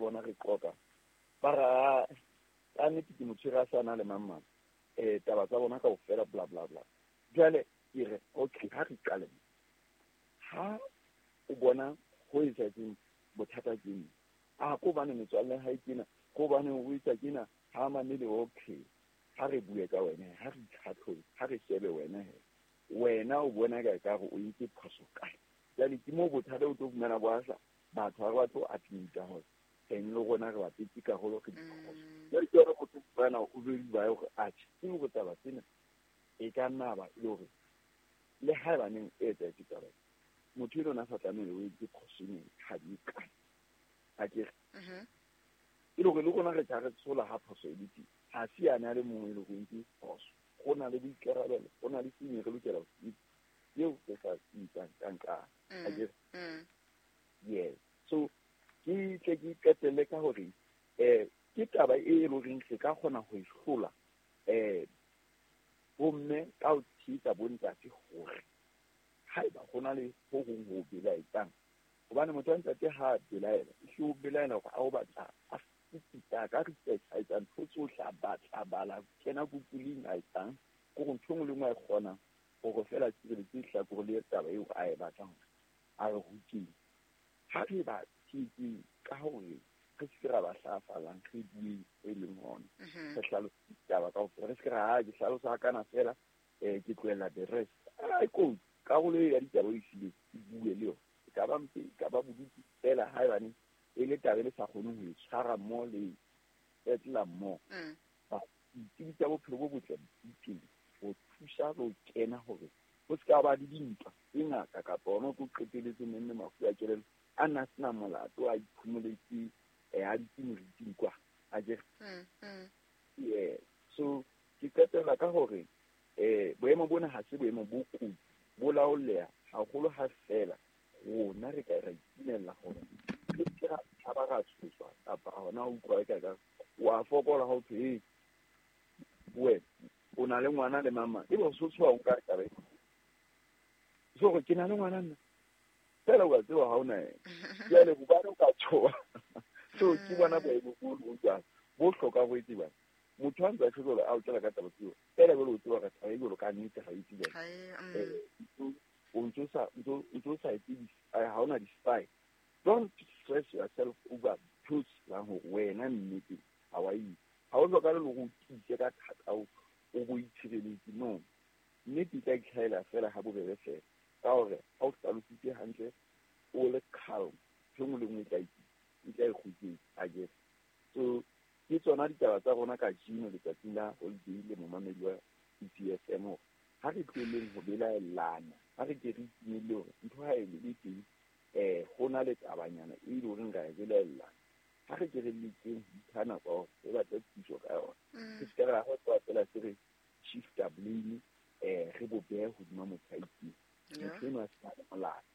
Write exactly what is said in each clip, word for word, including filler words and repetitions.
bona re qoqa ba ra ka nnete ke motho a sa na le mang mang eh taba tsa bona kaofela bla bla bla. Jwale ke re okay, ha re qale ha o bona ho etsahetseng bothata ke eng, a ko bane metswalle ha e kena ko bane o etsa kena ha mamele. Okay, ha re bue ka wena, ha re itlhatlhobe, ha re shebe wena he wena o bona ka ekare o entse phoso kae. Jwale ke moo bothata o tlo fumana bo asa batho ha re batle ho admit-a hore teng le rona re bapetse karolo re diphoso. Jwale ke hore o tlo fumana o bedi ba hore atjhe ke hore taba tsena e ka nna ba e le hore le haebaneng e etsahetse taba motho eno na sa tlamehile o entse phoso ene ha di kae akere e le hore le rona re tla re tshola ha phoso e le teng. Ha se yane a le mongwe e le hore o entse phoso, go na le boikarabelo, go na le sengwe re lokela ho se eo re sa se etsang ka nqane akere. Yes, so ke tle ke qetelle ka hore eh ke taba e e leng re ka kgona ho e hlola eh bomme ka ho tshehetsa bontate hore haeba ho na le ho hong ho belaetsang, hobane motho wa ntate ha belaela ehle o belaela hore a o batla a fuputsa ka research, a etsa ntho tsohle, a batla bala kena Google-ing, a etsang ke hore ntho e nngwe le nngwe a e kgonang hore feela tshireletse lehlakore le taba eo a e batlang hore a re ruteng. Ha re ba tshehetseng ka hore re se ke ra ba hlafalang, re bueng e leng hona re hlalose ditaba kaofela, re se ke ra ha ke hlalosa hakana fela um ke tlohella the rest. Ai kotsi karolo e ya ditaba o e fileng e bue le yona, e ka ba mpe, e ka ba bodutu fela haebane e le taba e le sa kgoneng ho e tshwara mmoho le etlela mmoho. Ditsebi tsa bophelo bo botle di teng ho thusa le ho kena hore ho se ka ba le dintwa tse ngata kapa hona o tlo qetelletse neng le mafu a kelello a nna sena molato a iphumoletse a dutse moriting kwa akere. Yeah, so ke qetella ka hore eh boemo bona ha se boemo bo kotsi, bo laoleha haholo ha fela rona re ka ra itumella hore re ke ra tshaba ra tshoswa kapa hona ho utlwa eka ka wa fokola ha o thwe wena o na le ngwana le mama ebe o so tshoha o nka taba so gore ke na le ngwana nna fela wa tseba ha o na ena jwale hobane o ka tshoha. So ke bona boemo bo bo jwalo bo hloka ho etsebang motho a ntse a tjho a o tlela ka taba tseo fela jwale o tseba ka taba e jwalo ka nnete ha e tsebe o ntso sa ntso sa etse ha ona di-spy. Don't stress yourself over ntho tsebang hore wena nnete ha wa itse ha o hlokahale le hore o tiise ka thata o bo itshireletse. No, nnete e tla itlhahela fela ha bobebe fela ka hore ha o hlalositse hantle o le calm ntho e nngwe le nngwe e tla e tla e kgutletse akere. So ke tsona ditaba tsa rona kajeno letsatsing la holiday le momamedi wa E P F M hore ha re tlohelleng ho belaellana, ha re ke re itumelle hore ntho ha e le teng eh ho na le tabanyana e le horeng ra e belaellana, ha re ke re lekeng ho ipha nako ya hore re batle thuso ka yona. Re se ke ra ho tloha fela se re shifta blame eh re bo behe hodima motho a itseng motho eno a se na le molato.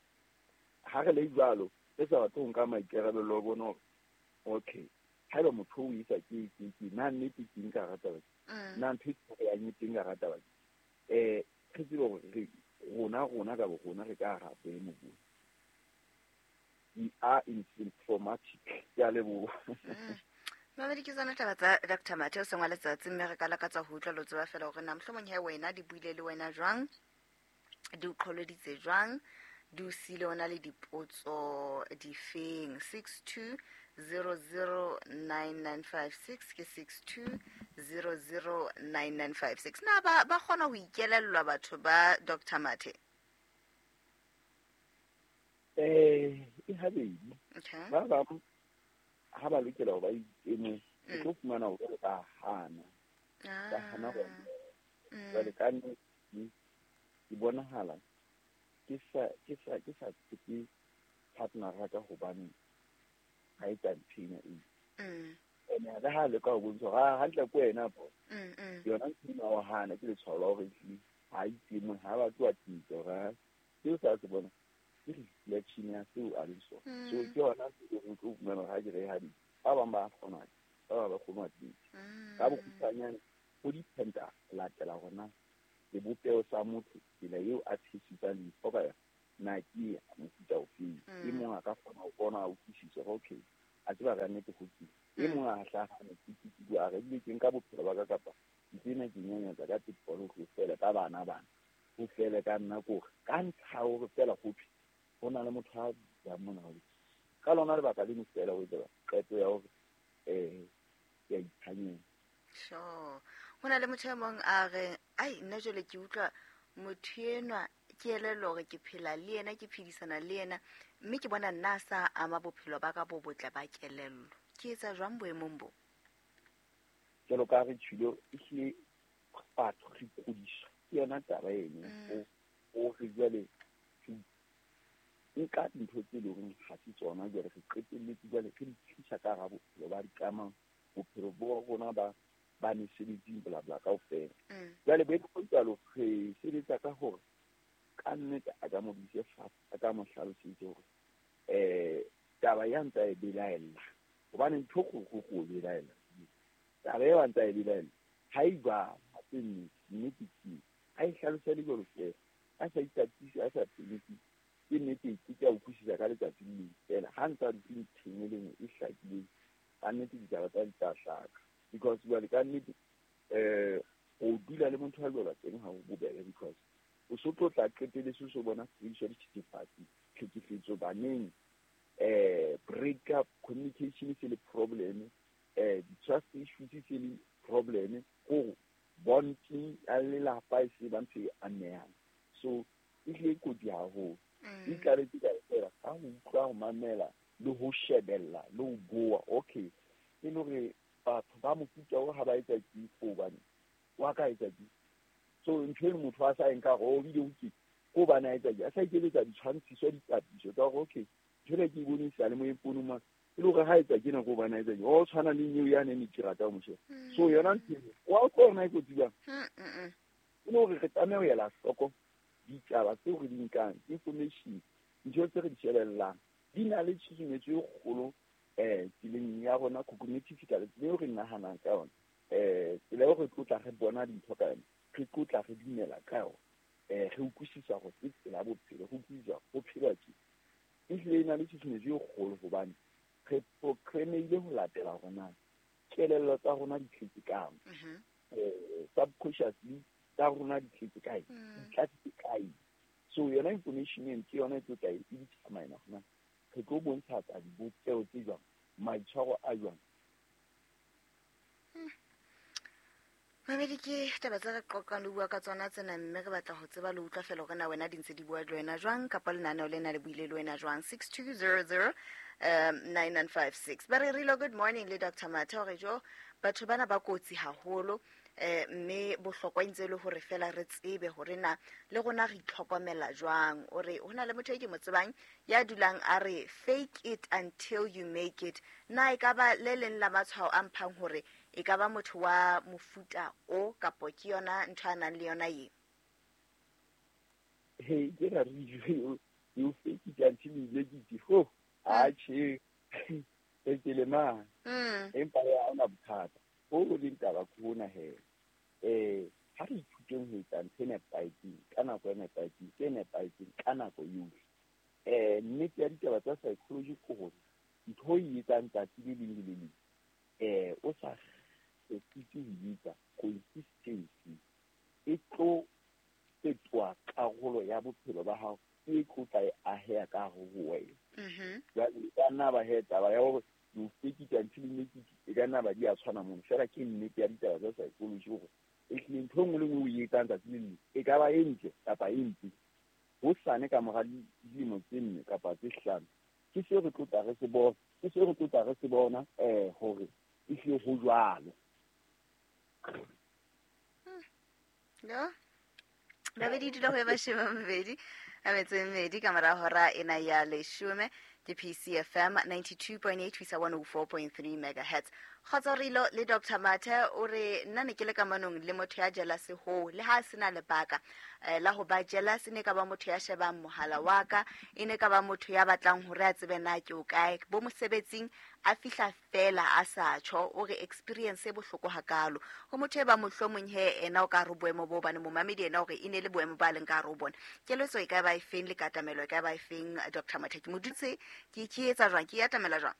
Ha re le jwalo re sa batle ho nka maikarabelo a bona hore okay haeba motho o isa ke ke ke na nnete ke nka hara taba na ntho e ya nnete nka hara taba eh re tsebe hore re rona rona ka bo rona re ka hara boemo bo we are in symptomatic. Ke a leboha. Mamedi ke tsona taba tsa Doctor Mathe o seng wa letsatsi mme re ka lakatsa ho utlwa lo tseba fela hore na mohlomong he wena di buile le wena jwang, di o qholoditse jwang, di o siile o na le dipotso difeng. Six two zero zero nine nine five six ke six two zero zero nine nine five six. Na ba ba kgona ho ikelellwa batho ba Doctor Mathe? Eh e habedi. Okay. Ba bang ha ba lokela ho ba ikeme, o tlo fumana hore ba hana. Ba hana hore jwale ka nnete ke bonahala ke sa ke sa ke sa tshepe partner ya ka hobane ha e tsa ntho ena e. Ene le ha le ka ho bontsha hore hantle ko wena bo. Yona ntho ena wa hana ke letshwao la hore ehlile ha ikeme, ha ba tloha tintsa hore seo sa se bona ke reflection ya seo a leng sona. So ke yona seo o tlo fumana hore ha ke re ha di ba bang ba kgona, ba bang ba kgona ho tintsa. Ka bokgutshwanyane ho dependa latela hore sebopeho sa motho tsela eo a tshepisang dintho ka yona na ke ya mofuta ofeng. E mong a ka kgona ho bona a utlwisise hore okay A tseba ka nnete ho tsile. E mong a hlaha ke ke a re ke nka bophelo ba ka kapa tsena ke nyanyatsa ka tipolo ho fela ka bana bana. Ho fele ka nna ko ka ntsha hore fela ho thwe ho na le motho a ya mona ho. Ka lona lebaka le fela ho etsa qeto ya hore eh ya ithanyela. Sure. Ho na le motho e mong a re ai nna jwale ke utlwa motho enwa ke elellwa hore ke phela le yena ke phedisana le yena mme ke bona nna sa ama bophelo ba ka bo botle ba kelello. Ke etsa jwang boemong bo? Jalo ka re tshilo ehlile batho re kgodiswa ke yona taba eno o o re jwale nka dintho tse leng hore ha se tsona jwale re qetelletse jwale re di tlisa ka hara bophelo ba dikamano bophelo bo rona ba ba mesebetsing bla bla kaofela. Jwale boemo jwalo re sebetsa ka hore ka nnete a ka mo bise fatshe a ka mo hlalosetse hore eh taba ya ntsa e belaella hobane ntho go go go belaella taba eo ntsa e belaella ha e jwalo ha se nnete nnete ke ha e hlalose le jwalo fela a sa itatise a sa phenisi ke nnete ke ka utlwisisa ka letsatsi le leng fela ha ntsa dutse ntheng e le nngwe e hlakileng ka nnete ditaba tsa di tla hlaka because jwale ka nnete eh o dula le motho a jwalo teng ha o bobebe because o so tlo tla qetelletse o so bona sebediswa dithethefatsi tlhekefetso baneng eh break up communication se le problem eh di-trust issues se le problem go bonding ya lelapa e se ba ntho e amehang. So e hlile e kotsi haholo. E tlaletse ka fela ka ho utlwa ho mamela le ho shebella le ho bua okay e le hore batho ba mofuta o ha ba etsa ke hobane wa ka etsa ke so ntho e motho a sa e nka hore o bile o ke ko bana etsa ke a sa ikeletsa ditshwantshiso dipapiso tsa hore okay ntho ena ke e bone sa le mo e ma e le hore ha etsa ke nako bana etsa ke o tshwana le nyeo ya ne ke rata ho moshe so yona ntho wa o tsona e kotsi jwang e le hore re tlameha ho ela hloko ditaba tseo re di nkang information ntho tse re di shebellang di na le tshusumetso e kgolo eh tseleng ya rona cognitive tsela eo re nahanang ka yona eh tsela eo re tlotla re bona dintho ka yona re tlotla re dumela ka yona eh re utlwisisa hore ke tsela ya bophelo re utlwisisa ho phelwa ke ehlile e na le tshusumetso e kgolo hobane re programmehile ho latela hore na kelello tsa rona di tletse kang eh subconsciously tsa rona di tletse kae di tlatse kae so yona information eno ke yona e tlo tla e determine hore na re tlo bontsha tsa dibopeho tse jwang maitshwaro a jwang. Mamedi ke taba tse re qoqang le bua ka tsona tsena mme re batla ho tseba le utlwa fela hore na wena di ntse di bua le wena jwang kapa lenaneo lena le buile le wena jwang. Six two zero zero um nine nine five six. Ba re rilo good morning le Doctor Mathe hore jo batho bana ba kotsi haholo eh mme bohlokwa ntse le hore fela re tsebe hore na le rona re itlhokomela jwang. O re hona le motho e ke mo tsebang ya dulang a re fake it until you make it. Na e ka ba le leng la matshwao a mphang hore e ka ba motho wa mofuta o kapo ke yona ntho a nang le yona ye? Hey, ke ra re you fake it until you make it. Ho, a che e ke le ma. Empa ya ona bothata. Ho leng taba ke hona he. Eh ha re ithuteng ho etsa ntho e nepahetseng ka nako e nepahetseng e nepahetseng ka nako yohle. Eh nnete ya ditaba tsa psychology ke hore ntho e etsang tsatsi le leng le le leng eh o sa kgefutse ho etsa consistency e tlo fetoha karolo ya bophelo ba hao e tlo tla e aheya ka hare ho wena. Jwale e ka nna ba he taba ya hore you fake it until you make it e ka nna ba di a tshwana mono fela ke nnete ya ditaba tsa psychology hore ehlile ntho e nngwe le nngwe o e etsang tsatsi le leng e ka ba e ntle kapa e mpe hosane ka mora dilemo tse nne kapa tse hlano ke seo re tlotla re se bona ke seo re tlotla re se bona eh hore ehlile ho jwalo. No babedi dula ho e mashome a mabedi a metso e mmedi ka mora hora ena ya leshome ke P C F M ninety-two point eight ho isa one oh four point three megahertz. Kgotso Rilo le Doctor Mathe o re nna ne ke le kamanong le motho ya jealous ho le ha sena lebaka la ho ba jealous ne ka ba motho ya shebang mohala wa ka e ne ka ba motho ya batlang hore a tsebe na ke o kae bo mosebetsing a fihla fela a sa tjho o re experience e bohloko hakalo ho motho e ba mohlomong he ena o ka re boemo bo bane momamedi ena hore e ne le boemo ba leng ka re o bona keletso e ka ba e feng le katamelo e ka ba e feng Doctor Mathe ke modutse ke ke etsa jwang ke atamela jwang?